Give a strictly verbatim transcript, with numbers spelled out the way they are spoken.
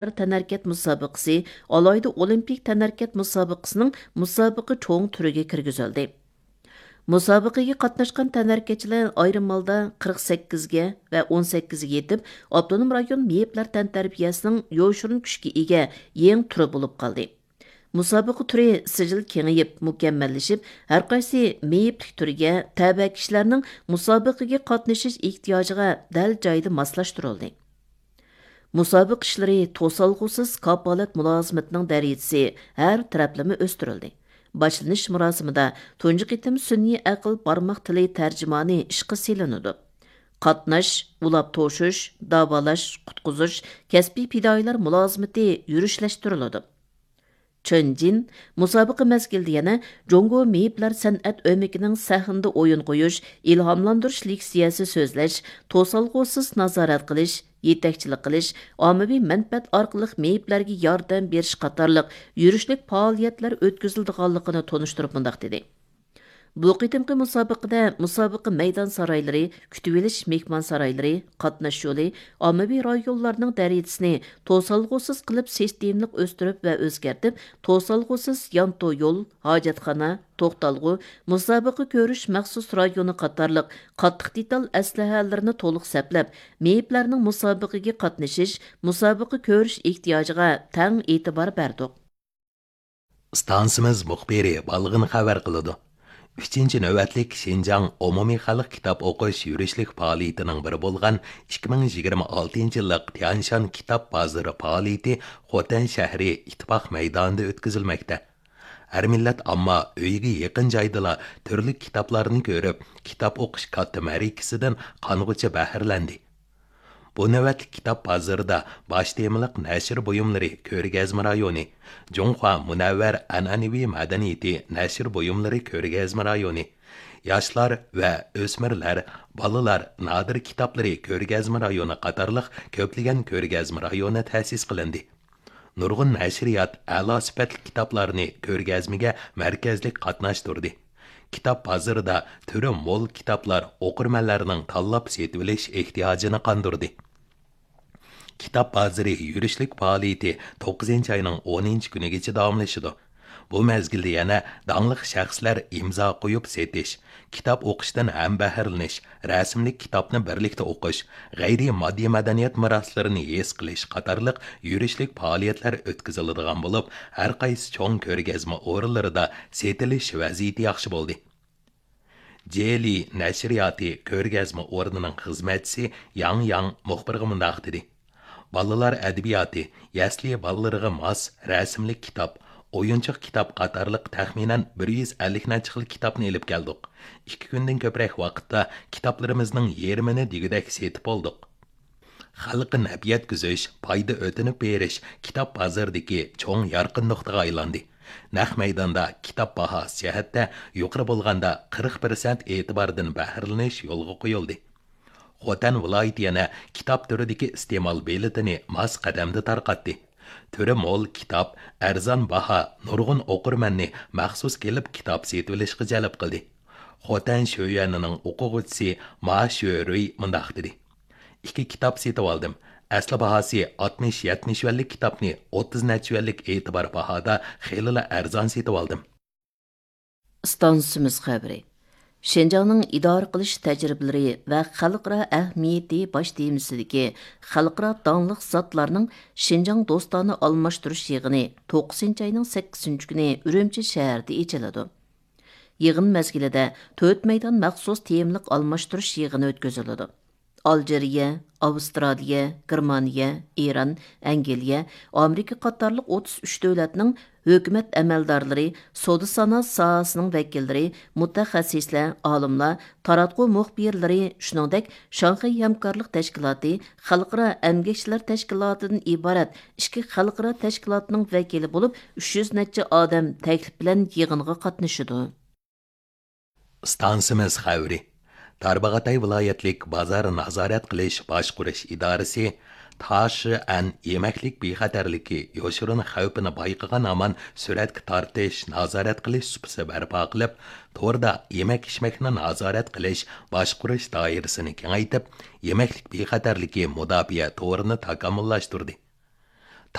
تەنھەرىكەت مۇسابىقىسى، ئالاھىدە ئولىمپىك تەنھەرىكەت مۇسابىقىسىنىڭ مۇسابىقە چوڭ تۈرىگە كىرگۈزۈلدى. مۇسابىقىگە قاتناشقان تەنھەرىكەتچىلەر ئايرىم ھالدا قىرىق سەككىزگە ۋە ئون سەككىزگە يېتىپ، ئاپتونوم رايون مېيىپلەر تەنتەربىيەسىنىڭ يوشۇرۇن كۈچكە ئىگە يېڭى تۈرى بولۇپ قالدى. مۇسابىقە تۈرى سىجىل كېڭىيىپ، مۇكەممەللىشىپ، ھەرقايسى مېيىپلىك تۈرىگە تەۋە كىشىلەرنىڭ مۇسابىقىگە قاتنىشىش ئېھتىياجىغا دەل جايىدا ماسلاشتۇرۇلدى. مۇسابىقە ئىشلىرى توسالغۇسىز كاپالەت مۇلازىمىتىنىڭ دەرىجىسى ھەر تەرەپلىمە ئۆستۈرۈلدى. باشلىنىش مۇراسىمىدا تۇنجى قېتىم سۈنئىي ئەقىل بارماق تىلى تەرجىمانى ئىشقا سېلىنىدۇ. قاتناش، ئۇلاپ توشۇش، داۋالاش، قۇتقۇزۇش، كەسپىي پىدائىيلار مۇلازىمىتى يۈرۈشلەشتۈرۈلىدۇ. چېن جىن مۇسابىقە مەزگىلىدە يەنە جۇڭگو مېيىپلەر سەنئەت ئۆمىكىنىڭ سەھنىدە ئويۇن قويۇش، ئىلھاملاندۇرۇش لېكسىيەسى سۆزلەش، توسالغۇسىز نازارەت قىلىش، يېتەكچىلىك قىلىش، ئاممىۋى مەنپەئەت ئارقىلىق مېيىپلەرگە ياردەم بېرىش قاتارلىق يۈرۈشلۈك پائالىيەتلەر ئۆتكۈزۈلىدىغانلىقىنى تونۇشتۇرۇپ مۇنداق دېدى. بۇ قېتىمقى مۇسابىقىدە مۇسابىقە مەيدان سارايلىرى، كۈتۈۋېلىش مېھمانسارايلىرى، قاتناش يولى، ئاممىۋى رايونلارنىڭ دەرىجىسىنى توسالغۇسىز قىلىپ سىستېمىلىق ئۆستۈرۈپ ۋە ئۆزگەرتىپ، توسالغۇسىز يانتۇ يول، ھاجەتخانا، توختالغۇ، مۇسابىقە كۆرۈش مەخسۇس رايونى قاتارلىق قاتتىق دېتال ئەسلىھەلىرىنى تولۇق سەپلەپ، مېيىپلەرنىڭ مۇسابىقىگە قاتنىشىش، مۇسابىقە كۆرۈش ئېھتىياجىغا تەڭ ئېتىبار بەردۇق. ئىستانسىمىز مۇخبىرى بالغىن خەۋەر قىلىدۇ. ئۈچىنچى نۆۋەتلىك شىنجاڭ ئومۇمىي خەلق كىتاب ئوقۇش يۈرۈشلۈك پائالىيىتىنىڭ بىرى بولغان ئىككى مىڭ يىگىرمە ئالتىنچى يىللىق تيەنشان كىتاب بازىرى پائالىيىتى خوتەن شەھىرى ئىتتىپاق مەيدانىدا ئۆتكۈزۈلمەكتە. ھەر مىللەت ئامما ئۆيىگە يېقىن جايدىلا تۈرلۈك كىتابلارنى كۆرۈپ، كىتاب ئوقۇش كاتتا مەرىكىسىدىن قانغۇچە بەھرىلەندى. بۇ نۆۋەتلىك كىتاب بازىرىدا باش تېمىلىق نەشر بۇيۇملىرى كۆرگەزمە رايونى، جۇڭخۇا مۇنەۋۋەر ئەنئەنىۋى مەدەنىيىتى نەشر بۇيۇملىرى كۆرگەزمە رايونى، ياشلار ۋە ئۆسمۈرلەر، بالىلار نادىر كىتابلىرى كۆرگەزمە رايونى قاتارلىق كۆپلىگەن كۆرگەزمە رايونى تەسىس قىلىندى. نۇرغۇن نەشرىيات ئەلا سۈپەتلىك كىتابلارنى كۆرگەزمىگە مەركەزلىك قاتناشتۇردى. كىتاب بازىرىدا تۈرى مول كىتابلار ئوقۇرمەنلەرنىڭ تاللاپ سېتىۋېلىش ئېھتىياجىنى قاندۇردى. كىتاب بازىرى يۈرۈشلۈك پائالىيىتى توققۇزىنچى ئاينىڭ ئونىنچى كۈنىگىچە داۋاملىشىدۇ. بۇ مەزگىلدە يەنە داڭلىق شەخسلەر ئىمزا قويۇپ سېتىش، كىتاب ئوقۇشتىن ھەم بەھرىلىنىش، رەسىملىك كىتابنى بىرلىكتە ئوقۇش، غەيرىي ماددىي مەدەنىيەت مىراسلىرىنى ھېس قىلىش قاتارلىق يۈرۈشلۈك پائالىيەتلەر ئۆتكۈزۈلىدىغان بولۇپ، ھەر قايسى چوڭ كۆرگەزمە ئورۇنلىرىدا سېتىلىش ۋەزىيىتى ياخشى بولدى. جېلى نەشرىياتى كۆرگەزمە ئورنىنىڭ خىزمەتچىسى ياڭ ياڭ مۇخبىرغا مۇنداق دېدى: بالىلار ئەدەبىياتى، يەسلى بالىلىرىغا ماس رەسىملىك كىتاب، ئويۇنچۇق كىتاب قاتارلىق تەخمىنەن بىر يۈز ئەللىك نەچچە خىل كىتابنى ئېلىپ كەلدۇق. ئىككى كۈندىن كۆپرەك ۋاقىتتا كىتابلىرىمىزنىڭ يېرىمىنى دېگۈدەك سېتىپ بولدۇق. خەلققە نەپ يەتكۈزۈش، پايدا ئۆتۈنۈپ بېرىش كىتاب بازىرىدىكى چوڭ يارقىن نۇقتىغا ئايلاندى. نەق مەيداندا كىتاب باھاسى جەھەتتە يۇقىرى بولغاندا قىرىق پىرسەنت ئېتىباردىن بەھرىلىنىش يولغا قويۇلدى. خوتەن ۋىلايىتى يەنە كىتاب تۈرىدىكى ئىستېمال بېلىتىنى ماس قەدەمدە تارقاتتى. تۈرى مول كىتاب، ئەرزان باھا نۇرغۇن ئوقۇرمەننى مەخسۇس كېلىپ كىتاب سېتىۋېلىشقا جەلپ قىلدى. خوتەن شۆيۈەنىنىڭ ئوقۇغۇچىسى ما شۆرۈي مۇنداق دېدى: ئىككى كىتاب سېتىۋالدىم. ئەسلى باھاسى ئاتمىش يەتمىش يۈەنلىك كىتابنى ئوتتۇز نەچچە يۈەنلىك ئېتىبار باھادا خېلىلا ئەرزان سېتىۋالدىم. ئىستانسىمىز خەۋىرى. شىنجاڭنىڭ ئىدارە قىلىش تەجرىبىلىرى ۋە خەلقئارا ئەھمىيىتى باش تېمىسىدىكى خەلقئارا داڭلىق زاتلارنىڭ شىنجاڭ دوستانە ئالماشتۇرۇش يىغىنى توققۇزىنچى ئاينىڭ سەككىزىنچى كۈنى ئۈرۈمچى شەھىرىدە ئېچىلىدۇ. يىغىن مەزگىلىدە تۆت مەيدان مەخسۇس تېمىلىق ئالماشتۇرۇش يىغىنى ئۆتكۈزۈلىدۇ. ئالجىرىيە، ئاۋسترالىيە، گېرمانىيە، ئىران، ئەنگلىيە، ئامېرىكا قاتارلىق ئوتتۇز ئۈچ دۆلەتنىڭ ھۆكۈمەت ئەمەلدارلىرى، سودا سانائەت ساھەسىنىڭ ۋەكىللىرى، مۇتەخەسسىسلەر، ئالىملار، تاراتقۇ مۇخبىرلىرى، شۇنىڭدەك شاڭخەي ھەمكارلىق تەشكىلاتى، خەلقئارا ئەمگەكچىلەر تەشكىلاتىدىن ئىبارەت ئىككى خەلقئارا تەشكىلاتنىڭ ۋەكىلى بولۇپ، ئۈچ يۈز نەچچە ئادەم تەكلىپ بىلەن يىغىنغا قاتنىشىدۇ. ئىستانسىمىز خەۋىرى. تارباغاتاي ۋىلايەتلىك بازار نازارەت قىلىش باشقۇرۇش ئىدارىسى تاشىئەن يېمەكلىك بىخەتەرلىكى يوشۇرۇن خەۋپىنى بايقىغان ھامان سۈرەتكە تارتىش، نازارەت قىلىش سۇپىسى بەرپا قىلىپ، توردا يېمەك-ئىچمەكنى نازارەت قىلىش باشقۇرۇش دائىرىسىنى كېڭەيتىپ، يېمەكلىك بىخەتەرلىكى مۇداپىئە تورىنى تاكامۇللاشتۇردى.